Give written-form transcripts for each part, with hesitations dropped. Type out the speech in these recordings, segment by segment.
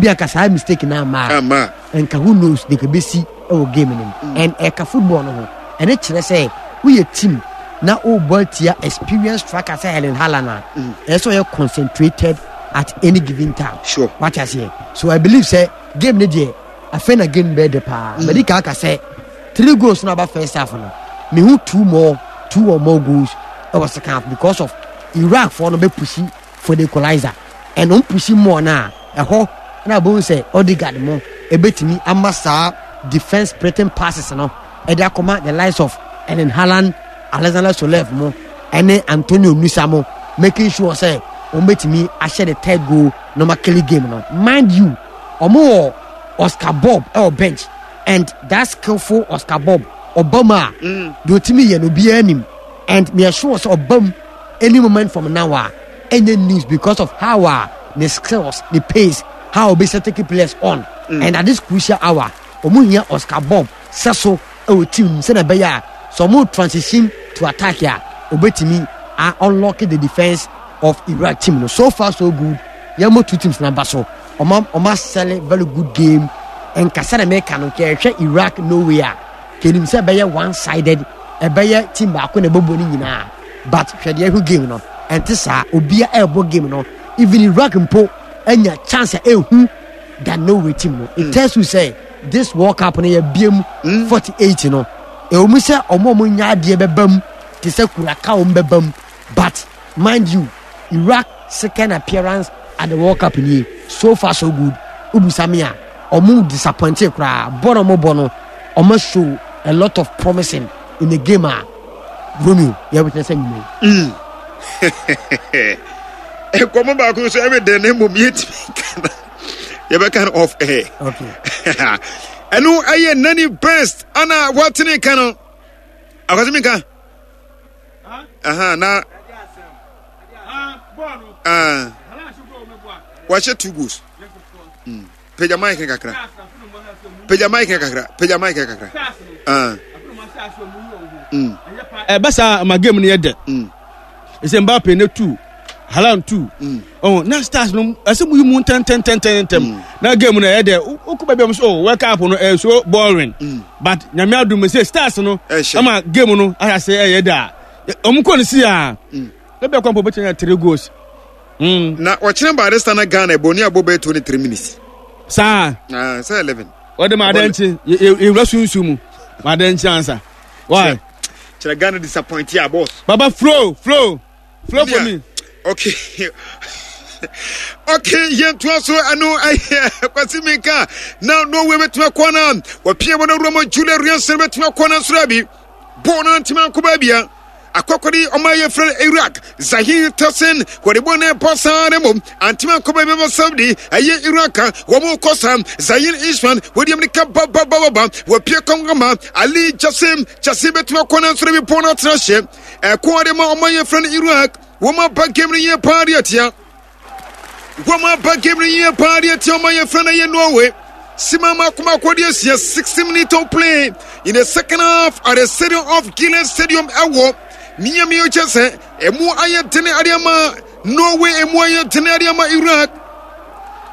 Ebi anka saa mistake na ama a, nka who knows de kɛbɛsi wɔ game no mu. And ɛka football no ho. Ɛne kyerɛ sɛ woyɛ team na wobɔ atia experienced striker sɛ Erling Haaland a, ɛyɛ sɛ ɔyɛ concentrated at any given time. Sure. Wate aseɛ? So I believe sɛ game no deɛ afei na game bɛyɛ dɛ paa. Madi kan aka sɛ three goals no aba first half no, mehu two more, two or more goals ɛwɔ second half because of Iraq foɔ no bɛ pushi for the equalizer and wɔn pushi more no a ɛhɔ na abɛhu sɛ Odegaard mo ɛbɛtumi ama saa defence splitting passes no ɛde akɔma the likes of Erling Haaland, Alexander Sorloth mo ɛne Antonio Nusa mo, making sure sɛ wɔn bɛtumi ahyɛ the third goal na wɔn akele game no. Mind you, wɔn wɔ Oscar Bob ɛwɔ bench and that skillful Oscar Bob ɔba mu a deɛ ɔtumi yɛ no obiara nim and meyɛ sure sɛ ɔba mu any moment from now a ɛnyɛ news because of how a ne skills, ne pace, how ɔbɛsi take players on and at this crucial hour wɔn hia Oscar Bob sɛ so ɛwɔ team mu sɛdeɛ ɛbɛyɛ a sɛ wɔn transition to attack a ɔbɛtumi a unlock the defence of Iraq team no. So far so good, yɛn mo two teams naba so ɔma ɔma sell very good game. Nkasa na mɛka no nka ɛhwɛ Iraq Norway a kenim sɛ ɛbɛyɛ one sided, ɛbɛyɛ team baako na ɛbɛbɔ ne nyinaa, but hwɛ deɛ ɛhwɛ game no ɛnte saa, obia ɛrebɔ game no, even Iraq mpo anya chance a ɛhu than Norway team no. It tells you sɛ this World Cup no yɛ biem 48 no ɛwɔ mu sɛ ɔmo a ɔmo nya adeɛ bɛba mu te sɛ Curacao ɔmo bɛba mu, but mind you, Iraq second appearance at the World Cup nie, so far so good. Wobusa me a, ɔmo disappointed koraa. Bɔ na ɔmo bɔ no, ɔmo show a lot of promising in the game a Romeo yɛ witness anwummerɛ yi. Nkɔmmɔ baako nso ɛmɛ dɛn na mmom yɛntumi nka no, yɛbɛka no off air. Okay. Ɛno ɛyɛ nani best ana watene ka no akwasi mi nka. Aha, na ah, wahyɛ two goals. Pagya mic no kakra. Pagya mic no kakra. Pagya mic no kakra. Ah. Ɛbɛ saa ma game no yɛ dɛ. Ɛsɛ Mbappe ne two, Haaland two. Oh, na stars no ɛsɛ mu yi mu ntɛntɛntɛntɛntɛm. Na game no ɛyɛ dɛ. Wokɔ baabi a mo so oh World Cup no ɛyɛ so boring. But nyame adum sɛ stars no ama game no ayɛ sɛ ɛyɛ dɛ a. Ɔmo kɔ no si a. Ebi akɔ mpo bɛtumi anya three goals. Na ɔkyerɛ barista na Ghana ɛbɔ ni abɔ bɛyɛ 23 minutes. Saa. Ah, sɛ 11. Wɔde ma adɛnkye yɛwura sunsun mu ma adɛnkye ansa. Why? Kyerɛ Ghana disappoint ya boss. Baba flow flow flow for me. Okay. Okay, yɛntoa so ɛno ɛyɛ Kwasi Minka na Norway bɛtumi akɔ no wɔpia bɔ no awura mu Julia Riansen bɛtumi akɔ no nsoro abi bɔɔl no antumi ankɔ baabia akɔkɔde ɔma yɛ frɛ Iraq Zahir Tasin wɔde bɔ ne bɔ saa ne mmom antumi ankɔ baabi ma Saudi ɛyɛ Iraq a wɔn kɔ saa Zahir Isman wɔde amika babababa wɔpie kɔnkɔma Ali Jasim Jasim bɛtumi akɔ no nsoro bi bɔɔl no atena hyɛ ɛko ade ma ɔma yɛ frɛ no Iraq wɔn aba game no yie paa de atia wɔn aba game no yie paa de atia ɔma yɛ frɛ no yɛ Norway sima mako mako de asia 60 minutes of play in the second half at the stadium of Gillette Stadium ɛwɔ Miami kyɛ sɛ ɛmu ayɛ dene ade ama Norway, ɛmu ayɛ dene ade ama Iraq.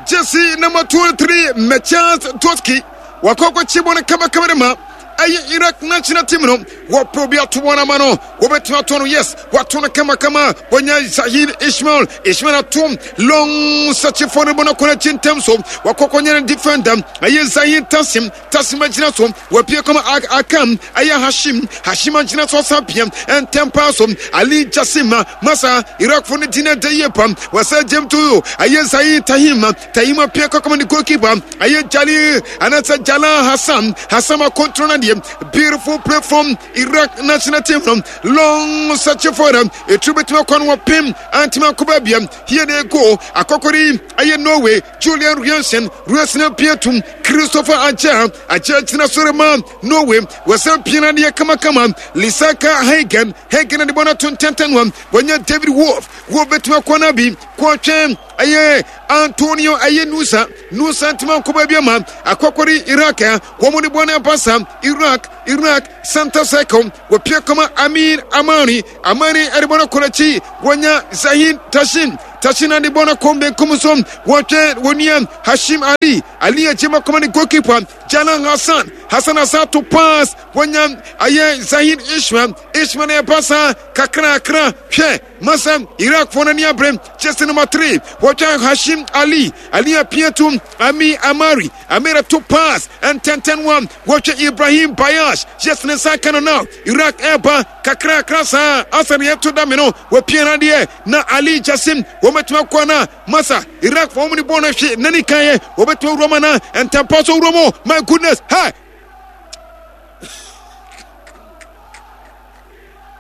Jesse number 23 Mechas Toski wakɔ akɔkye bɔ no kamakama de ma ɛyɛ Iraq national team no. Wɔpɛ obi ato wɔn ama no, wɔbɛtumi ato no, yes, wato no kamakama. Wɔnya Zahir Ismail, Ismail ato long search for no bɔ no kɔ n'akyi ntɛm so, wakɔ kɔnyɛ no defender ɛyɛ Zahir Tasim. Tasim agyina so, wapue kɔma Akam ɛyɛ Hashim, Hashim agyina so asan pia ntɛm paa so Ali Jasim masa Iraqfo no di na da yie pam wɔsɛ gyem to ɛyɛ Zahir Tahim, Tahim apue kɔkɔma ne goalkeeper ɛyɛ Jali anaasɛ Jala Hassan, Hassan akontro no deɛ. Beautiful play from Iraq national team no, long search for them ɛturu bɛtumi akɔ no wɔpem antumi akɔ baabia. Here they go, akɔkɔre ɛyɛ Norway Julian Riansen, Riansen apue tum Christopher Agyar, Agyar gyina soro ma Norway, wɔsan pia no adeɛ kamakama. Lisaka Hagen, Hagen de bɔ no ato ntɛntɛn no, wɔnya David Wolf, Wolf bɛtumi akɔ no abi, kɔtwɛn ɛyɛ Antonio ɛyɛ Nusa, Nusa ntoma nkɔ baabi ama akɔkɔre Iraq, wɔn de bɔ no aba sa Iraq, Iraq center circle, wɔpia kɔma Amin Amani, Amani ɛde bɔ no kɔ n'akyi, wɔnya Zahin Tashin. Tashina de bɔ no kɔm benkum so. Wɔtwɛn wɔn nua Hashim Ali. Ali agyema kɔma ne goalkeeper Jalan Hassan. Hassan Hassan to pass. Wɔnya ayɛ Zahid Ishmael. Ishmael na ɛba saa kakrakra. Hwɛ masa Iraqfoɔ no ani abere. Jersey number 3. Wɔtwɛn Hashim Ali. Ali apia to Ami Amari. Amira to pass ntɛntɛn wa wɔhwɛ Ibrahim Bayash yes ne nsa ka no now Iraq ɛreba kakrakra saa asa ne yɛto da me no wɔpia no adeɛ na Ali Jasim wɔbɛtumi akɔ na masa Iraq fɔ wɔn ne bɔɔl no hwe nani kan yɛ wɔbɛtumi awura mu na ntɛmpa so wura mu my goodness hey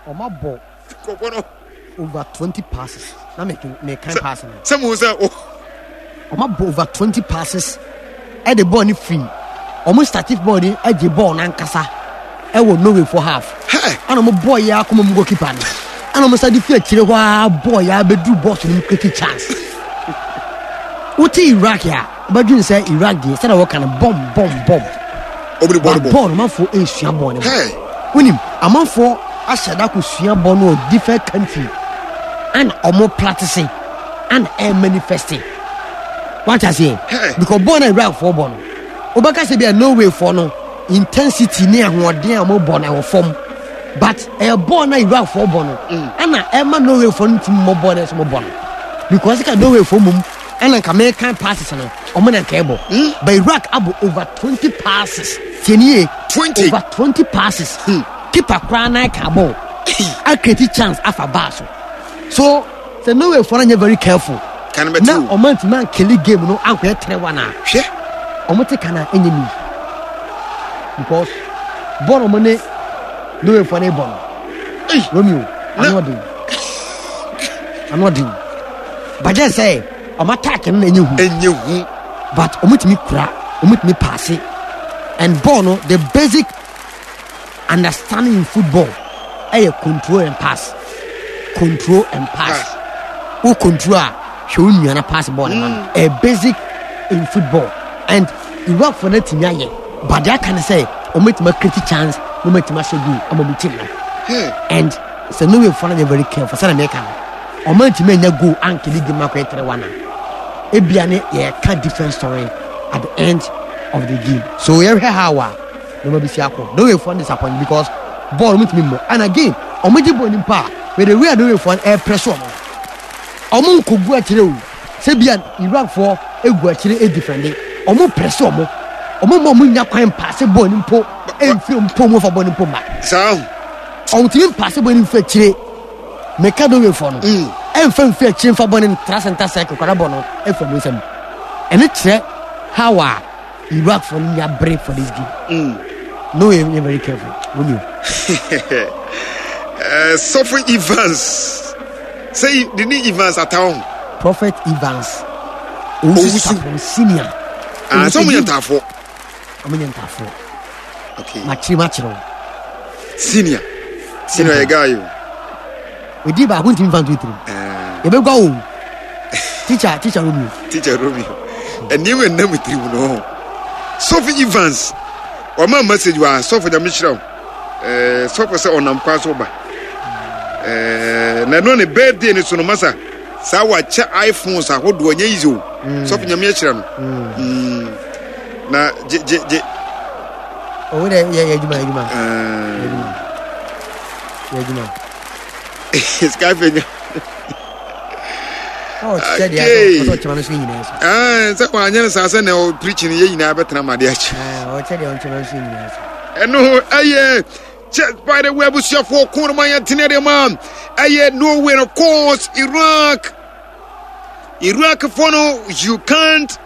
Ɔma bɔ kɔkɔ no over 20 passes na me me kan pass no. Sɛ mo sɛ o. Ɔma bɔ over 20 passes ɛde bɔɔl no firi ɔmo startive bɔɔl no ɛgye bɔɔl n'ankasa ɛwɔ Norway for half. Ɛna ɔmo bɔɔl yɛ akɔma mu goalkeeper no ɛna ɔmo sa de fi akyire hɔ ara bɔɔl yɛ abɛduru box no mu create chance. Wote Iraq a wobɛdwene sɛ Iraq deɛ sɛdeɛ wɔka no bɔm bɔm bɔm. Ɔmo de bɔɔl bɔ. Bɔɔl no amanfoɔ ɛresua bɔɔl no bɔ. Wonim amanfoɔ ahyɛ da kɔsua bɔɔl no wɔ different country ɛna ɔmo practice ɛna ɛmanifeste. Wate aseɛ? Because bɔɔl no Iraqfoɔ bɔ no wobɛka sɛ bia Norwayfoɔ no intensity ne ahoɔden a wɔbɔ no ɛwɔ fam but ɛyɛ bɔɔl no Iraqfoɔ bɔ no ɛna ɛma Norwayfoɔ no ntumi mmɔ bɔɔl no ɛsɛ wɔbɔ no because ka Norwayfoɔ mmom ɛna nka mekan passes no ɔmo na nka ɛbɔ but Iraq abɔ over 20 passes tiɛ nie 20 over 20 passes keeper koraa nan ka bɔɔl acreate chance afa baa so so sɛ Norwayfoɔ no nyɛ very careful na ɔmo antumi ankele game no ankɔyɛ 3-1 a hwɛ ɔmo te kan a ɛnyɛ ni because bɔɔl ɔmo ne Norwayfoɔ no bɔ no Romeo ano ɔden ano ɔden bàjẹ́ sɛ ɔmo attack no na ɛnyɛ hu ɛnyɛ hu but ɔmo tumi kura ɔmo tumi paase and ball no the basic understanding in football ɛyɛ control and pass control and pass wo control a hwɛ wo nua na pass ball no ma no ɛyɛ basic in football and Iraq fo no atumi ayɛ but deɛ aka ne sɛ ɔmo atumi acreate chance na ɔmo atumi ahyɛ goal ama ɔmo team no and sɛ Norway fo no yɛ very careful sɛdeɛ meka no ɔmo antumi anya goal ankele game akɔyɛ 3-1 a ebia ne yɛka different story at the end of the game so yɛhwɛ how a nneɛma bi si akɔ Norway fo no disappoint because ball ɔmo ntumi mmɔ and again ɔmo gye ball nipa a with the way a Norway fo no ɛrepress ɔmo ɔmo nkɔgu akyire o sɛ bia Iraq foɔ egu akyire edifɛnde ɔmo press ɔmo ɔmo ma ɔmo nya kwan paase ball no mpo emfiri mpo ɔmo fa ball no mpo ma saa ɔmo tumi mpaase ball no mfiri akyire meka Norway foɔ no ɛnfa mfiri akyire mfa ball no ntra center circle kora ball no efiri ɔmo nsam ɛno kyerɛ how a Iraq foɔ no nya bere for this game no yɛ yɛ very careful Romeo. Sɔfo Evans sɛ de ne Evans ataw ho. Prophet Evans Owusu Sapon senior. Ah, sɛ ɔmo yɛ ntaafoɔ. Ɔmo yɛ ntaafoɔ. Okay. Makyere makyere wo. Senior. Senior yɛ guy o. Odi baako ntumi nfa nto tirim. Yɛbɛgua wo. Teacher, Teacher Romeo. Teacher Romeo. Nneɛma nna mu tirim no. Sɔfo Evans wama message wa sɔfo nyame hyira wo. Eh, sɔfo sɛ ɔnam kwan so ba. Eh, na ɛno ne birthday ne so no masa. Saa wakyɛ iPhones ahodoɔ nyɛ easy o. Sɔfo nyame ahyira no. Na gye gye gye. Owó dɛ yɛ yɛ adwuma yɛ adwuma. Yɛ adwuma. Sky fenya. Sɛ wanyɛ no saa sɛ na ɔpreach no yɛ nyinaa bɛtena ma adeɛ akyi. Ɛno ɛyɛ kyɛ by the way abusuafoɔ ko no ma yɛntene deɛ ma ɛyɛ Norway of course Iraq Iraq foɔ no you can't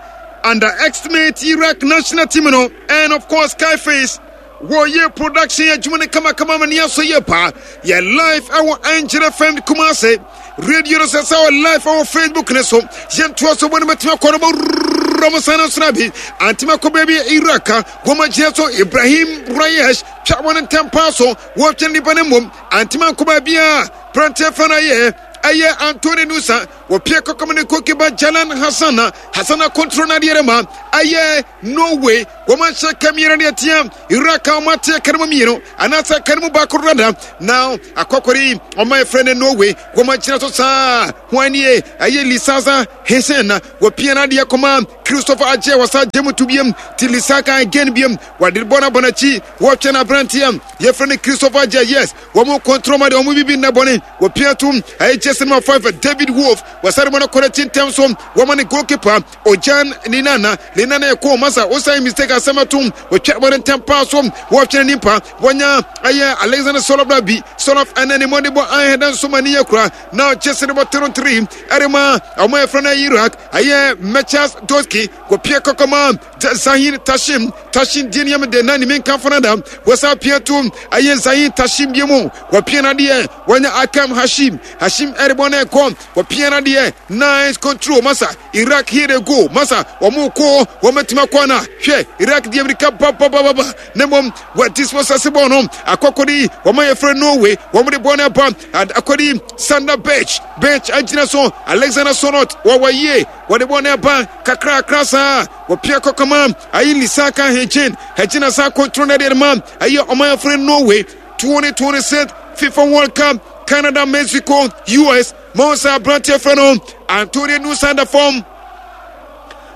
underestimate Iraq national team no and of course Skyface Wɔyɛ production adwuma no kamakama ma ne asɔ yie paa. Yɛ live ɛwɔ Angel FM Kumasi. Radio no sɛ sɛ wɔ live ɛwɔ Facebook ne so. Yɛntoa so bɔ no bɛtumi akɔ no bɔ mo san no bi. Antimi akɔ baabi Iraq wɔn agyina so Ibrahim Rayesh twa wɔn ntɛm paa so wɔtwe nipa no mmom. Antimi akɔ baabi a pranteɛ fa no ayɛ ɛyɛ Anthony Nusa. Wɔpia kɔkɔm ne goalkeeper Jalan Hassan na Hassan akontro n'adeɛ rema. Ɛyɛ Norway wɔn ahyɛ ka mmienu ne atia Iraq a wɔn ate ka no mu mmienu anaasɛ ka no mu baako rada na akɔkɔre wɔn a yɛfrɛ no Norway wɔn agyina so saa ho anie ɛyɛ Lisaza Hesen na wɔpia no adeɛ kɔma Christopher Agye wɔsa gye mu to biam ti Lisaka again biam wɔde bɔ no abɔ n'akyi wɔtwɛn aberanteɛ yɛfrɛ no Christopher Agye yes wɔn kɔntrɔ ma deɛ wɔn bibi nna bɔne wɔpia to ɛyɛ jersey number 5 David Wolf wɔsare bɔ no kɔ n'akyi ntɛm so wɔma ne goalkeeper Ojan Linana Linana ɛkɔ masa wosan mistake asɛm atom wɔtwa bɔ no ntɛm paa so wɔtwɛn nipa wɔnya ɛyɛ Alexander Solof bi Solof ɛnɛ ne mmɔde bɔ ahɛda nso ma ne yɛ kura na jersey number 33 ɛrema wɔn ɛfrɛ no Iraq ɛyɛ Mechas Doski wɔpia kɔkɔma Zahin Tashim Tashim die nneɛma de na ne menka fana da wɔsa pia to ɛyɛ Zahin Tashim bie mu wɔpia no adeɛ wɔnya Akam Hashim Hashim ɛrebɔ no ɛkɔ wɔpia no adeɛ nice control masa Iraq here they go masa wɔn kɔ wɔn bɛtumi akɔ ana hwɛ Iraq deɛ mirika babababa na mmom wɔati so sase bɔɔl no akɔkɔdi wɔn a yɛfrɛ Norway wɔn de bɔɔl no aba akɔdi Sander Berge Berge agyina so Alexander Sorot wɔwɔ yie wɔde bɔɔl no aba kakrakra saa wɔpia kɔkɔma ayi Lisaka Hejin Hejin asa control no deɛ ma ɛyɛ ɔman yɛfrɛ Norway 2026 FIFA World Cup Canada Mexico US Monsa aberanteɛ frɛ no Antonio Nusa da fam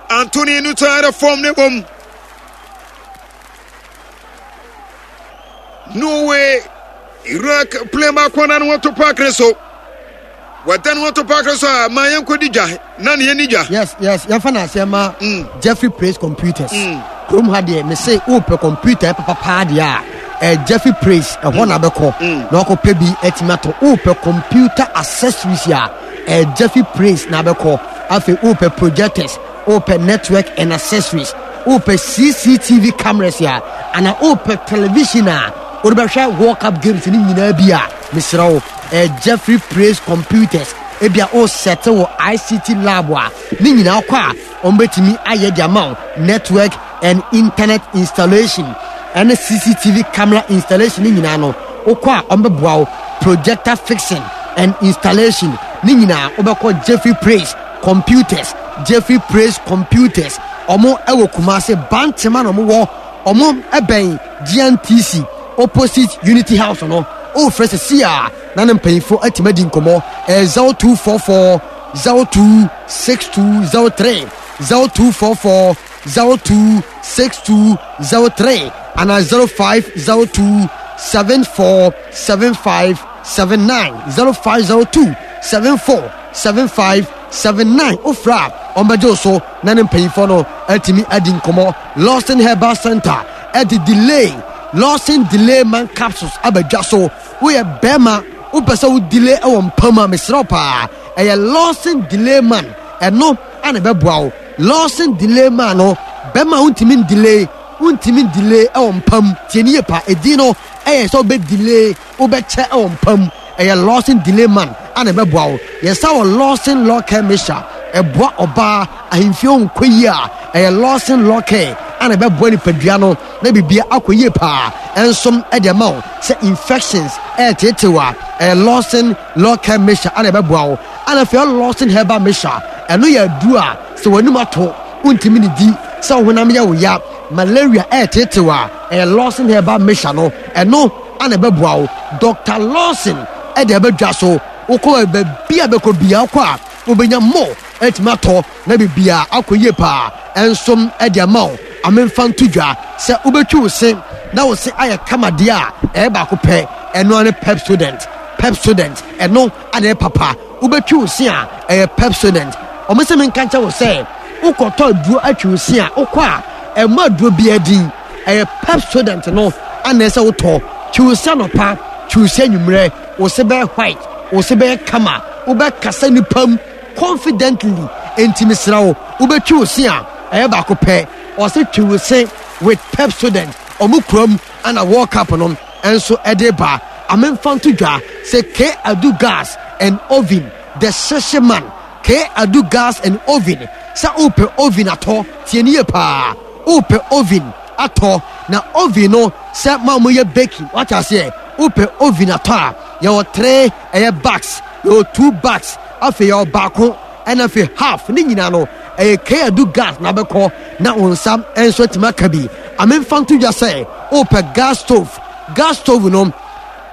Antonio Nusa da fam ne mmom Norway Iraq plane baako na ne ho to park ne so wɔda ne ho to park ne so a ma yɛnkɔdi dwa na ne yɛni dwa. Yes yes yɛmfa no aseɛ ma mm. Jeffrey Praise Computers mm. kurom ha deɛ mese wopɛ computer papa paa deɛ a eh, Jeffrey Praise ɛhɔ mm. na bɛkɔ mm. na wakɔpɛ bi atumi atɔ wopɛ computer accessories a eh, Jeffrey Praise na bɛkɔ afei wopɛ projectors wopɛ network and accessories wopɛ CCTV cameras a ana wopɛ television a wode bɛhwɛ World Cup games ne nyinaa bi a mesrɛ wo eh, Jeffrey Praise Computers ebia wosɛte wɔ ICT lab a ne nyinaa kɔ a wɔbɛtumi ayɛ de ama wo network and internet installation ɛne CCTV camera installation ne nyinaa no wokɔ a wɔbɛboa wo projector fixing and installation ne nyinaa wobɛkɔ Jeffrey Praise Computers Jeffrey Praise Computers wɔn ɛwɔ Kumase Bantema na wɔn wɔ wɔn ɛbɛn GNTC opposite Unity House no wofrɛ sisi a na ne mpanyinfoɔ atumi adi nkɔmɔ ɛyɛ 0244 026203 0244 026203 anaa 0502 747579 0502 747579 wofrɛ a ɔmbɛgye wo so na ne mpanyinfoɔ no atumi adi nkɔmmɔ. Lawson Herbal Center ɛde delay Lawson Delay Man Capsules aba dwa so. Woyɛ bɛrima wopɛ sɛ wo delay wɔ mpa mu a mesrɛ wo paa ɛyɛ Lawson Delay Man ɛno ana ɛbɛboa wo. Lawson Delay Man no bɛrima wontumi ndelay wontumi ndelay wɔ mpa mu tie ne yie paa edin no ɛyɛ sɛ wobɛ delay wobɛkyɛ wɔ mpa mu. Ɛyɛ Lawson Delay Man a na ɛbɛboa wo. Yɛsa wɔ Lawson Law Care Mixture. Ɛboa ɔbaa ahemfie ho nkɔ yie a, ɛyɛ Lawson Law Care a na ɛbɛboa nipadua no na biribiara akɔ yie paa. Ɛnso ɛde ɛma wo sɛ infections ɛreteetew a, ɛyɛ Lawson Law Care Mixture a na ɛbɛboa wo. Ɛna afei Lawson Herbal Mixture, ɛno yɛ aduro a sɛ w'anum ato, wontumi ne di, sɛ wo honam yɛ wo ya, malaria ɛreteetew a, ɛyɛ Lawson Herbal Mixture no, ɛno a na ɛbɛboa wo. Doctor Lawson de aba dwa so. Wokɔ baabi a bɛkɔ biara wokɔ a wobɛnya mo atumi atɔ na biribiara akɔ yie paa nso de ama wo. Amemfa nto dwa sɛ wobɛtwi wo se na wo se ayɛ kama deɛ a ɛyɛ baako pɛ, ɛno ara ne Pepsodent. Pepsodent, ɛno ana ɛyɛ papa. Wobɛtwi wo se a ɛyɛ Pepsodent. Wɔn sɛ menka nkyɛ wo sɛ wokɔtɔ aduro atwi wo se a wokɔ a ɛmmɔ aduro biara din. Ɛyɛ Pepsodent no ana ɛsɛ wotɔ. Twi wo se anɔpa, twi wo se anwummerɛ, wo se bɛyɛ white, wo se bɛyɛ kama, wobɛkasa nipa mu confidently. Enti mesrɛ wo, wobɛtwi wo se a, ɛyɛ baako pɛ. Ɔse twi wo se with Pepsodent. Ɔmo kurom ana World Cup no nso ɛde ba. Amemfa nto dwa sɛ K Adu Gas and Oven, the Hyehye Man. K Adu Gas and Oven, sɛ wopɛ oven atɔ, tie no yie paa. Wopɛ oven atɔ na oven no sɛ mo a moyɛ baking wate aseɛ wopɛ oven atɔ a yɛwɔ three ɛyɛ bags yɛwɔ two bags afei yɛwɔ baako ɛna afei half ne nyinaa no Ɛyɛ Kayadu gas na abɛkɔ na wo nsa nso atumi aka bi. Amemfa nto dwa sɛ wopɛ gas stove. Gas stove no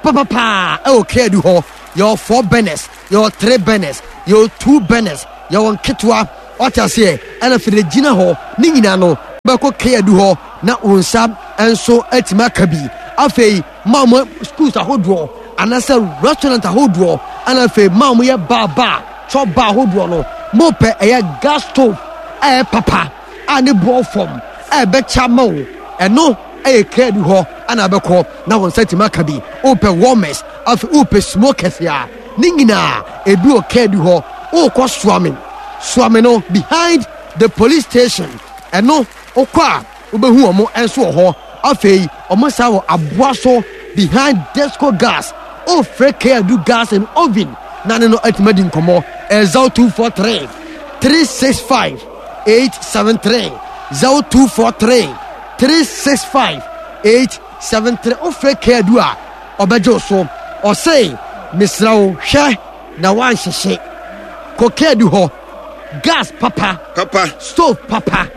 papapaa ɛwɔ Kayadu hɔ. Yɛwɔ 4 burners, yɛwɔ 3 burners, yɛwɔ 2 burners, yɛwɔ nketewa. Wate aseɛ? Ɛna afei de gyina hɔ ne nyinaa no bɛkɔ Kayadu hɔ na wo nsa nso atumi aka bi. Afei ma wɔn schools ahodoɔ anaasɛ restaurant ahodoɔ ɛna afei ma wɔn yɛ bar bar chop bar ahodoɔ no mo pɛ ɛyɛ gas stove a ɛyɛ papa a ne boɔ fam a ɛbɛkyɛ ama wo ɛno ɛyɛ kra bi hɔ ɛna abɛkɔ na wɔn nsa tumi aka bi wopɛ warmers afei wopɛ smokers a ne nyinaa ebi wɔ kra bi hɔ wokɔ soame soame no behind the police station ɛno wokɔ a Wobɛhu wɔn nso wɔ hɔ. Afei wɔn san wɔ aboa so behind Desco Gas. Wofrɛ Kadu Gas and Oven na ne no atumi adi nkɔmmɔ. Ɛyɛ 0243 365 873 0243 365 873. Wofrɛ Kadu a ɔbɛgye wo so. Ɔse mesrɛ wo hwɛ na woanhyehye. Kɔ Kadu hɔ. Gas papa. Papa. Stove papa.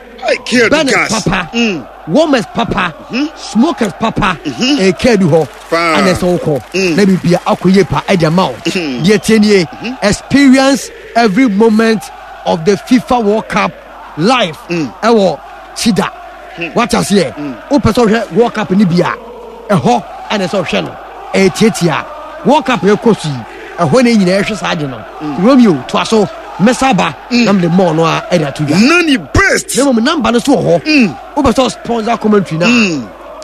Burners papa, mm. warmers papa, mm -hmm. smokers papa, mm-hmm. ɛka bi hɔ ana ɛsɛ wokɔ mm. na biribia akɔ yie pa ɛde ama wo mm-hmm. deɛ tie nie mm-hmm. experience every moment of the FIFA World Cup live mm. ɛwɔ Chida mm. wate aseɛ wopɛ sɛ wohwɛ World Cup no bi a ɛhɔ ɛna ɛsɛ wohwɛ no ɛyɛ tiatia World Cup ɛkɔ so yi ɛhɔ na nyinaa ɛhwɛ saa ade no mm. Romeo toa so mɛsa ba mm. na mede mɔɔ no a ɛde ato dwa nani best na mmom namba no so wɔ hɔ mm. wopɛ sɛ sponsor commentary no a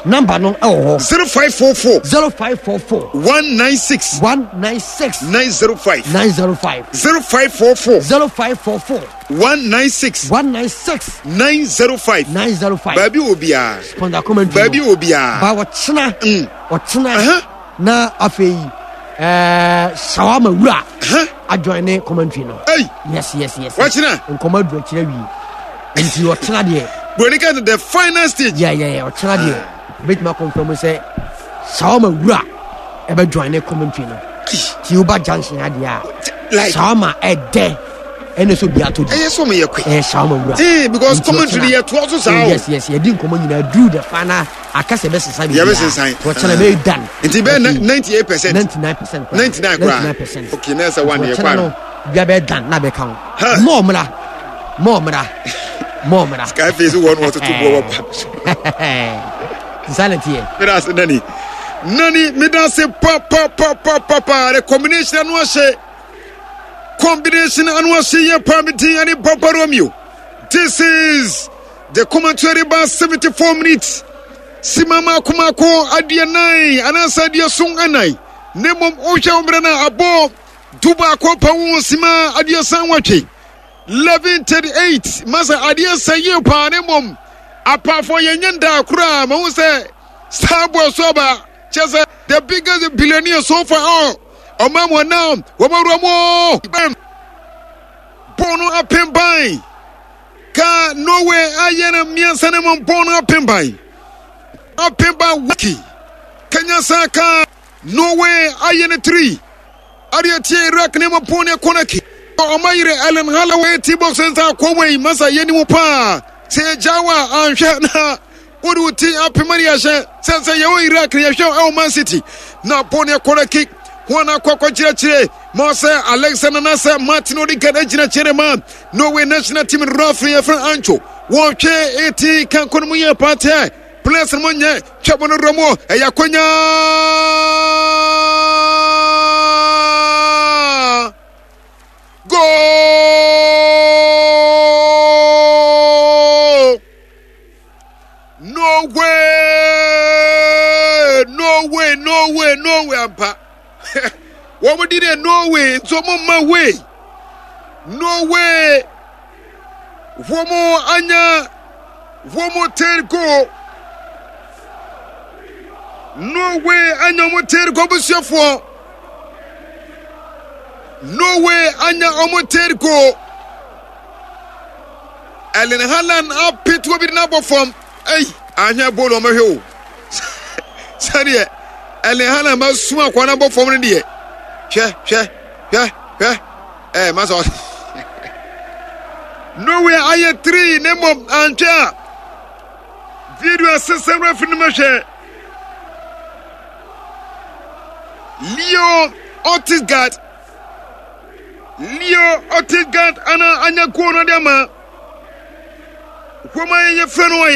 namba no ɛwɔ hɔ 0544 0544 196 196 905 905 0544 0544 196 196 905 905 baabi wɔ biara sponsor commentary baabi wɔ biara ba wɔkyena ɔkyena na afei ɛɛ shawarma wura adjoin ne commentary no. Hey. yes yes yes. Wɔkyena. Nkɔmɔ adu akyerɛ wie nti ɔkyena deɛ. Broni ka the final stage. Yeah yeah yeah ɔkyena deɛ ebetumi akɔnfɛn mu sɛ shawarma wura ɛbɛ join ne commentary no. Ti o ba junction adeɛ a. Like shawarma ɛdɛ ɛna so bi ato di. Ɛyɛ sɛ ɔmo yɛ kwe. Ɛyɛ shawarma wura. Ee because commentary yɛ to aso saa o. Yes yes yɛ di nkɔmɔ nyinaa duru the final. Aka sɛ ɛbɛsesa biribiara. Yɛbɛsesan. Wɔkyena bɛyɛ dan. Nti bɛyɛ 98%. 99% koraa. 99 koraa. 99%. Okay, na ɛsɛ one yɛ Wɔkyena no bia bɛyɛ dan na bɛka ho. Mɔɔ mmra. Mɔɔ mmra. Mɔɔ mmra. Sky face wɔ no wɔtoto boɔ wɔ pa. Nsa na teɛ. Meda ase nani. Nani meda ase pa pa pa pa pa pa. The combination ano ahyɛ. Combination ano ahyɛ yɛ pa me din ane Papa Romeo. This is The commentary ba 74 minutes sima mako mako aduanan anaasɛ aduason anan na mmom wohwɛ wo mmerɛ no a abɔ du baako pa wo sima aduasa nwɔtwe 11:38 masa adeɛ sɛ yie paa na mmom apaafo yɛnyɛ ndaa koraa mahu sɛ saa boɔ so aba kyɛ sɛ the biggest billionaire so far oh, ɔma mu anam wɔmawura mu bɔɔ no apem ban Ka Norway ayɛ no mmiɛnsa no mu bɔn no apem ban. Apem ban waki. Kenya san ka Norway ayɛ no tiri. Adeɛ tie Iraq ne mu bɔn no kɔnɔ ki. Ɔma yere Ellen Holloway ti box nsa akɔ wei masa yɛ ni mu paa. Sɛ yɛgya wa anhwɛ na wode wo ti apem ne yɛhyɛ sɛ sɛ yɛwɔ Iraq ne yɛhwɛ ɛwɔ Man City na bɔn no kɔnɔ ki. Wɔn akɔ akɔkyerɛkyerɛ ma sɛ Alexander na sɛ Martin Odegaard agyina kyerɛ ma Norway national team referee yɛfrɛ Ancho wɔtwe eti kanko no mu yɛ paatɛ players no mu nyɛ twɛ bɔ no wura mu ɛyɛ akonya goal Norway Norway Norway Norway ampa wɔn di deɛ Norway nso wɔn mma way Norway wɔn anya wɔn third goal Norway anya wɔn third goal busuafoɔ Norway anya wɔn third goal. Erling Haaland apete obi de no abɔ fam. Ei, ahwɛ bɔɔl wɔn hwɛ o. Sɛdeɛ Erling Haaland ma sum akwa no abɔ fam no deɛ. Hwɛ, hwɛ, hwɛ, hwɛ. Ɛɛ, masa. Norway ayɛ 3 na mmom antwɛ a video asesɛm referee no mɛhwɛ. Leo Otisgard Leo Otisgard ana anya goal no de ama. Wɔn a yɛfrɛ no.